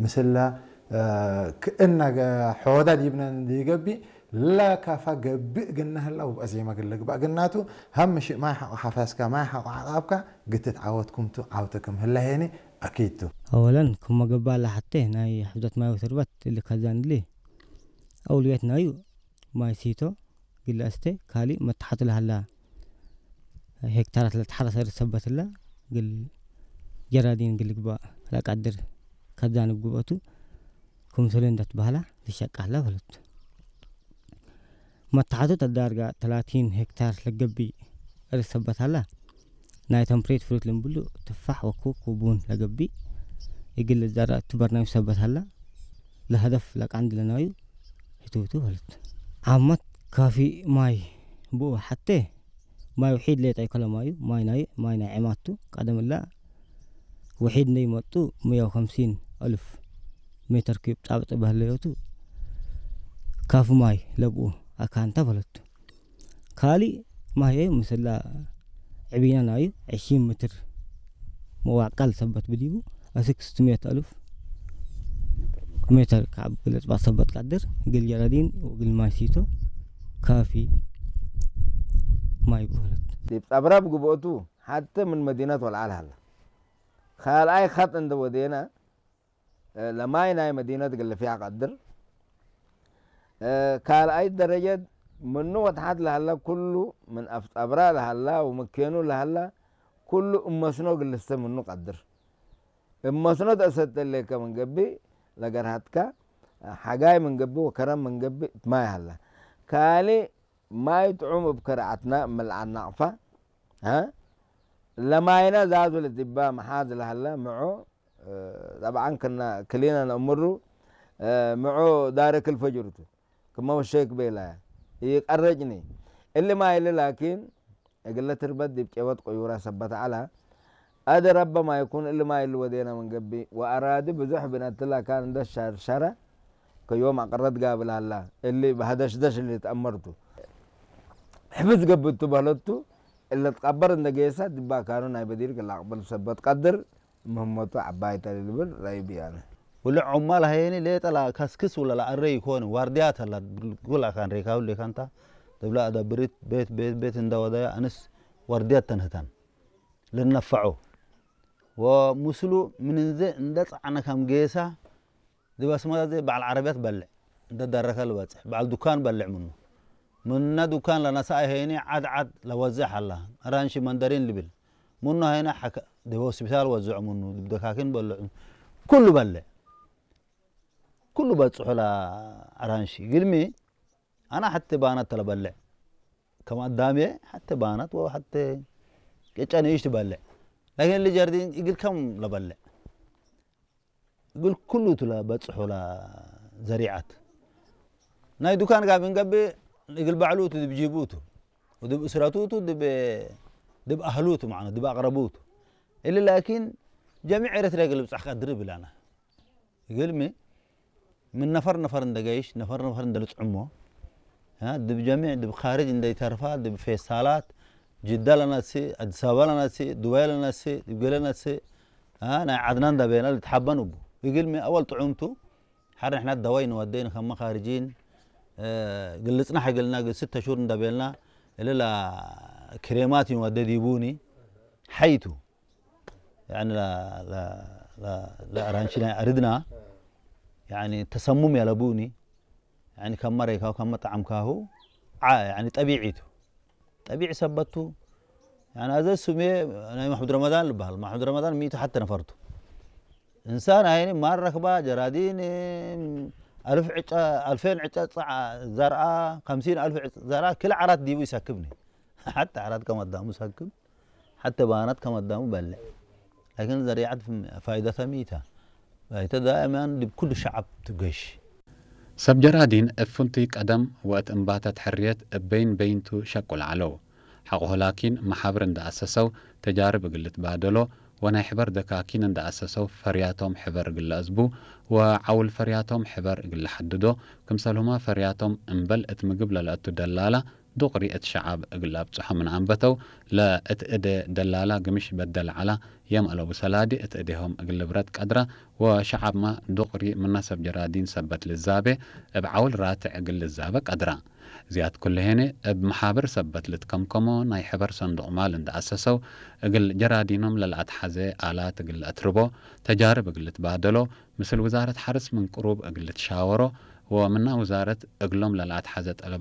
ምስላ ክእና ሖወዳ ዲብና እንዲገቢ ላካፋ ገብእ ግና ህላ ውብአ ዜማ ግለ ግባእ ግናቱ ሃምሽ ማይ ሓቆ ሓፋስካ ማይ ሓቆ ዓቃብካ ግትት ዓወትኩምቱ ዓውተክም ህላ ሄኒ ኣኪቱ። ኣወለን ክሞ ገባ ላሓቴ ናይ ሕብዘት ማይ ወሰርበት እሊ ከዛን እሊ ኣውልየት ናዩ ማይ ሲቶ ግለ እስቴ ካሊ መታሓቱ ለሃላ ሄክታራት ለተሓረሰ ርሰበትላ ግል ጀራዲን ግል ግባ ለቃድር ከዛንብ ግብአቱ ክምሰሉ እንዳትባህላ ልሸቃላ በለት። መታሓቱ ተዳርጋ ተላቲን ሄክታር ለገቢ ርሰበታላ ናይ ተምፕሬት ፍሩት ልምብሉ ትፋሕ ወኩ ኩቡን ለገቢ ይግል ዛራ ትበርናዊ ሰበታላ ለሀደፍ ለቃንድ ለናዩ ህትውቱ በለት። ዓመት ካፊ ማይ ብኡ ሓቴ ማይ ውሒድ ሌጣ ይከለማዩ ማይ ናይ ማይ ናይ ዕማቱ ቀደምላ ውሒድ እንደይመጡ ሙያው ከምሲን ኣሉፍ ሜተር ኪዩብ ጣብጥ በህለዮቱ ካፍ ማይ ለብኡ ኣካንታ በለቱ። ካሊ ማይ ምስላ ዕቢና ናዩ ዕሺ ምትር መዋቃል ሰበት ብዲቡ ኣስክስት ሜት ኣሉፍ ሜተር ካብ ግለጽ ባሰበት ቀድር ግል ጀረዲን ወግል ማይ ሲቶ ካፊ ማይ ብኸለት። ዲብ ጠብራብ ግብኦቱ ሓተ ምን መዲነት ወልዓል ሃላ። ካልኣይ ኸጥ እንደ ወዴና ለማይ ናይ መዲነት ግልፍያ ቀድር ካልኣይ ደረጀት ምኑ ወትሓት ለሃላ ኩሉ ምን ኣፍ ጠብራ ለሃላ ወመኬኑ ለሃላ ኩሉ እመስኖ ግልስተ ምኑ ቀድር እመስኖ ተእሰተሌከ መንገቢ ለገርሃትካ ሓጋይ መንገቢ ወከረም መንገቢ ትማይ ሃላ ካሊ ማይ ጥዑም እብ ከርዓትና እምልዓና ኣቕፋ ለማይና ዛዙ ለዲባ መሓዝ ለሃላ ምዖ ጠብዓን ክና ክሊና ነእምሩ ምዖ ዳረክ ልፈጅርቱ ክመ ወሸክ ቤላ ይቀረጭኒ እሊ ማይ እሊ ላኪን እግለ ትርበት ዲብ ቄወት ቆዩራ ሰበት ዐላ ኣደ ረበ ማይኩን እሊ ማይ እሊ ወዴና መንገቢ ወአራዲ ብዙሕ ብነትላ ካን እንደ ሸርሸረ ከዮም አቅረት ጋብል አላ እሊ በሀደሽደሽ እሊ ተአመርቱ ሕፍዝ ገብቱ በህለቱ እለ ትቀበር እንደ ጌሳ ድባ ካኑ ናይ በዲር ክላቅበል ሰበት ቀድር ምህመቱ ዐባይ ተልልብል ረይብ ያነ። ውልዕ ዑማል ሀየኒ ሌጠ ለከስክስ ውለ ለአረይ ይኮን ዋርድያት ሀላ ጉል አካን ሬካብል ሌካንታ ትብላ አዳብሪት ቤት ቤት ቤት እንደ ወደያ አንስ ዋርድያት ተንህታን ልነፈዖ ወምስሉ ምንንዘ እንደ ጸዓነ ከም ጌሳ ድብ አስመራ ዘይ በዓል ዓረብያት በልዕ እንደ ዳረከ ልበጽሕ በዓል ዱካን በልዕ ምኑ ምና ዱካን ለነሳ ሀይኒ ዓድ ዓድ ለወዝሕ አላ አራንሺ መንደሪን ልብል ምኑ ሀይኒ ሐከ ድብ ሆስፒታል ወዝዑ ምኑ ድብ ደካኪን በልዑ ኩሉ በልዕ ኩሉ በጽሑ ለአራንሺ ግልሚ አና ሐቲ ባናት ተለበልዕ ከም አዳሜ ሐቲ ባናት ወሐቲ ቅጨ ንእሽ ትበልዕ ላኪን ልጀርዲን እግል ከም ለበልዕ እግል ኩሉ ቱ ለበጽሑ ለዘሪዓት ናይ ዱካን ጋር ብንገብእ እግል ባዕሉ ቱ ድብ ጂቡ ቱ ወድብ እስረቱ ቱ ድብ ድብ አህሉ ቱ ማለት ድብ አቅረቡ ቱ እሊ ላኪን ጀሚዕ ኤረትርያ እግል ብጻሕ ቀድር ብላና እግልሚ ምን ነፈር ነፈር እንደ ገይሽ ነፈር ነፈር እንደ ልጽዕሞ ድብ ጀሚዕ ድብ ካርጅ እንደ ይተርፋ ድብ ፌስታላት ጅዳ ለናሲ አዲስ አበባ ለናሲ ዱባይ ለናሲ ድብ ገለ ናሲ ናይ ዓድና እንዳቤና ልትሓበን እቡ እግልሚ አወል ጥዑምቱ ሓደ ንሕና ደዋይ ንወደይ ንከመ ካርጂን ግልጽና ሕግልና ግል ስተ ሹር እንዳቤልና እልላ ክሬማት ንወደ ዲቡኒ ሓይቱ ያኒ ለአራንቺ ናይ አርድና ያኒ ተሰሙም ያለቡኒ ያኒ ከመ ረይካሁ ከመ ጠዓምካሁ ያኒ ጠቢዒቱ ጠቢዕ ሰበቱ ያኒ አዘ ሱሜ ናይ ማሕሙድ ረመዳን ልበሃል ማሕሙድ ረመዳን ሚእቲ ሓተ ነፈርቱ እንሳን አይኒ ማር ረክባ ጀራዲን አልፍ ዕጨ አልፌን ዕጨ ጸዓ ዘርአ ከምሲን አልፍ ዕጨ ዘርአ ክል ዓራት ዲቡ ይሰክብኒ ሓተ ዓራት ከም አዳሙ ሰክብ ሓተ ባናት ከም አዳሙ በልዕ ላኪን ዘሪዓት ፋይደተ ሚታ ባይተ ዳእማን ዲብ ኩሉ ሸዓብ ትገሽ ሰብ ጀራዲን እብ ፍንቱይ ቀደም ወእት እምባተት ሕርየት እብ በይን በይንቱ ሸቁል ዐለው። ሐቆሁ ላኪን መሓብር እንደ አሰሰው ተጃርብ እግል ልትባደሎ ወናይ ሕበር ደካኪን እንደ አሰሰው ፈርያቶም ሕበር እግል ለአዝቡ ወዐውል ፈርያቶም ሕበር እግል ለሐድዶ ክምሰልሁመ ፈርያቶም እምበል እት ምግብ ለለአቱ ደላላ ዱቕሪ እት ሸዓብ እግል ኣብጽሖ ምን ኣንበተው፣ ለእት እዴ ደላላ ግምሽ በደል ዐላ፣ የም አለቡ ሰላዲ እት እዴሆም እግል ብረት ቀድራ፣ ወሸዓብማ ዱቕሪ ምና ሰብ ጀራዲን ሰበት ልዛቤ፣ እብ ዐውል ራትዕ እግል ልዛበ ቀድራ። ዝያድ ኩሉ ሄኔ፣ እብ መሓብር ሰበት ልትከምከሞ ናይ ሕበር ሰንዱቕ ማል እንዳ ኣሰሰው፣ እግል ጀራዲኖም ለለኣትሓዘ ኣላት እግል ለአትርቦ፣ ተጃርብ እግል ልትባደሎ፣ ምስል ውዛረት ሓርስ ምን ቅሩብ እግል ልትሻወሮ፣ ወምና ውዛረት እግሎም ለለኣትሓዘ ጠለባት